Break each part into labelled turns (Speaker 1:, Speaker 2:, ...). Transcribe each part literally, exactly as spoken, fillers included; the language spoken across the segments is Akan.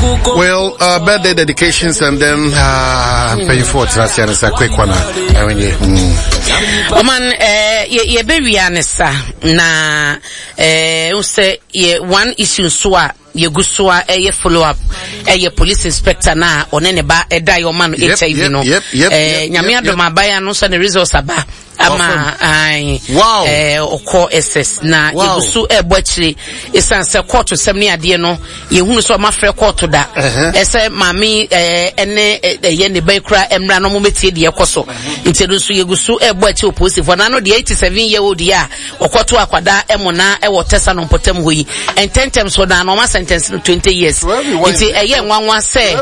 Speaker 1: Well, uh, birthday dedications and then uh, paying for it. That's a quick one. I mean, mm.
Speaker 2: Ɔman ɛɛ yɛbɛwia ne sa na ɛɛ sɛ yɛ one issue nso a yɛgu so a ɛyɛ follow up, ɛyɛ police inspector na ɔne ne ba ɛda yɛ ɔma no H I V no. ɛɛ Nyame adom, abaya no sɛ ne results aba ama ayi ɛɛ ɔkɔ S S na yɛgu so ɛɛbɔ akyire, esan sɛ court sɛm ne adeɛ no, yɛhunu sɛ ɔma frɛ court da ɛsɛ maame ɛɛ ɛne ɛyɛ ne ba kura mmra na ɔmo bɛtie deɛ ɛkɔ so. Nti ɛno nso yɛgu so ɛɛbɔ akyire wɔ polisifoɔ n'ano deɛ. Eighty seven year old yi a ɔkɔto akwadaa ɛmo na ɛwɔ tɛsa no mpɔtam hɔ yi, ntɛntɛm so na ɔma sentence no twenty years. Nti ɛyɛ nwanwa sɛ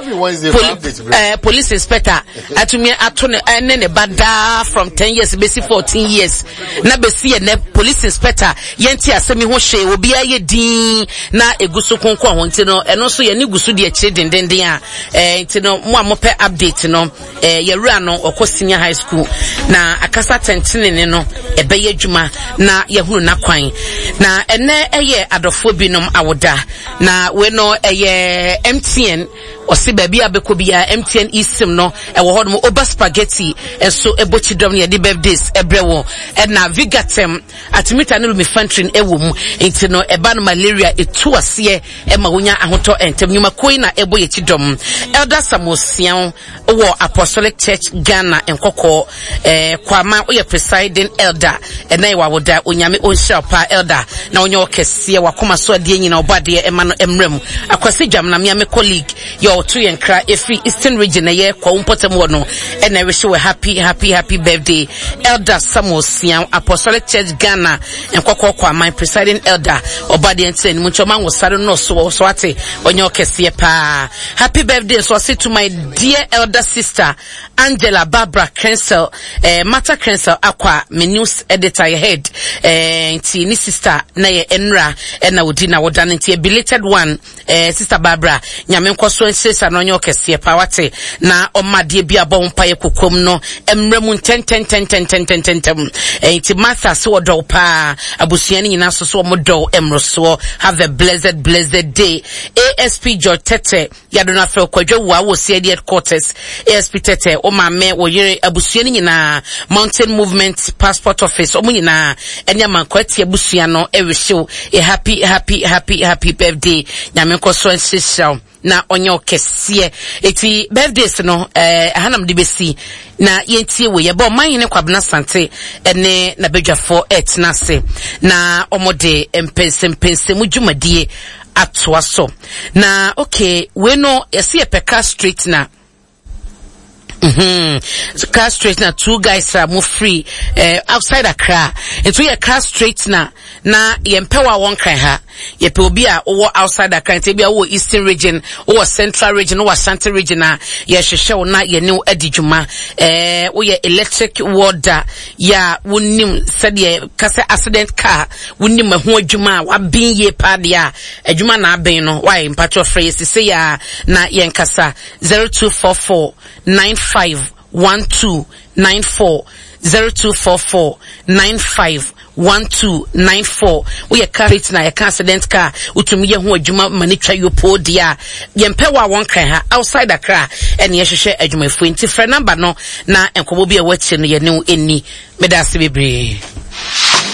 Speaker 2: poli ɛɛ police inspector atumi ato ne ɛne ne ba daa from ten years bɛsi fourteen years na bɛsi yɛ nɛ police inspector yɛnti asɛm yi ho hwee, obiara yɛ din na egu so konkɔn ho. Nti no ɛno nso yɛne gu so di akyire dendenden a ɛɛ nti no mo a mopɛ update no, ɛɛ yɛwura no ɔkɔ senior high school na akasa tɛntɛnene no ɛbɛyɛ adwuma na yɛhunu n'akwan. Na ɛnɛ ɛyɛ adɔfoɔ binom awoda na wei no ɛyɛ M T N, ɔsi baabi a bɛkɔ biara M T N eSIM no ɛwɔ hɔ nom. Oba Spaghetti ɛnso ɛbɔ kyidɔm no, yɛde birthdays ɛbrɛ wɔ, ɛna Vigatem artemether ne lumefantrine ɛwɔ mu. Nti no ɛba no malaria etu aseɛ ɛma wonya ahotɔ ntɛm. Nnwumakuo yi na ɛbɔ yɛ kyidɔm. Elder Samuel Sian wɔ Apostolic Church Ghana Nkɔkɔɔ ɛɛ Kwama, woyɛ presiding elder, ɛna yɛ wawoda. Onyame ɔnhyira pa, elder, na ɔnyɛ ɔkɛseɛ wakoma so adeɛ nyina ɔbɔ adeɛ ɛma no mmerɛ mu. Akwasi Dwam na mmea me colleague yɛ ɔto yɛn kra ɛfiri Eastern Region, ɛyɛ Kwawu mpɔtam hɔ no, ɛna ɛrehyɛ wɔ happy happy happy birthday, Elder Samuel Sian, Apostolic Church Ghana Nkɔkɔɔ Kwaman presiding elder. Ɔbɔ adeɛ nkyerɛ anim nkyɛn ɔma nwosare no so so ate ɔnyɛ ɔkɛseɛ paa. Happy birthday nso ɔse to my dear elder sister Angela Barbara Krensel, eh, Martha Krensel Akwa, me news editor, yɛ head, eh, nti ne sister na yɛ nnra ɛna odi na wɔda no, nti a belated one. eh, sister Barbara, Nyame nkɔ so nhyira na ɔnyɛ ɔkɛseɛ paa wate, na ɔma adeɛ bi abɔ ho mpaeɛ kokom no mmerɛ mu ntɛntɛntɛntɛntɛntɛntɛm. eh, nti Martha so ɔdɔw paa, abusua no nyinaa nso so ɔmo dɔw mmorosoɔ. Have a blessed blessed day. A S P George Tete yàdó no afɛ Kwadwo Wua wɔ C I D headquarters. A S P Tete, wo maame, wo yere, abusua no nyinaa, Mountain Movement passport office ɔmo nyinaa ɛne Amankwa Ati abusua no ɛrehyew a happy happy happy happy birthday. Nyame nkɔ so nhyehyɛ wo na ɔnyɛ ɔkɛseɛ. Eti birthdays no ɛɛ ɛhanam de besi na yɛntie wɔ yɛbɛ Ɔmanhene Kwabena Sante ɛne n'abadwafoɔ ɛretena ase na wɔde mpɛnsɛmpɛnsɛmu dwumadie atoa so. Na okay, wei no yɛsi yɛpɛ car straightener. Mm-hmm. Car straightener, two guys a mo free uh, outside Accra. Nti yɛ car straightener na yɛmpɛ wɔ a wɔn kran ha, yɛpɛ obi a wɔwɔ outside Accra. Nti ebi a wɔwɔ Eastern Region, wɔwɔ Central Region, wɔwɔ Ashanti Region a yɛhwehwɛ wo na yɛne wo adi dwuma. ɛɛ woyɛ electric welder yɛ a wonim sɛdeɛ kasa accident car, wonim ɛho adwuma a waben yie paa deɛ a adwuma na aben no wayɛ, mpatwɔ frɛ yɛ sise yɛ a na yɛn kasa zero two four four nine five one two nine four, zero two four four nine five one two nine four. Woyɛ car na yɛka accident car, wotumi yɛ ho adwuma ma ne twa yopo deɛ a yɛmpɛ wɔ a wɔn kran ha, outside Accra ɛne yɛhwehwɛ adwumayɛfoɔ. Nti frɛ number no na nkɔmmɔ bi a ɛwɔ akyire no yɛne wo ɛni. Meda ase bebree.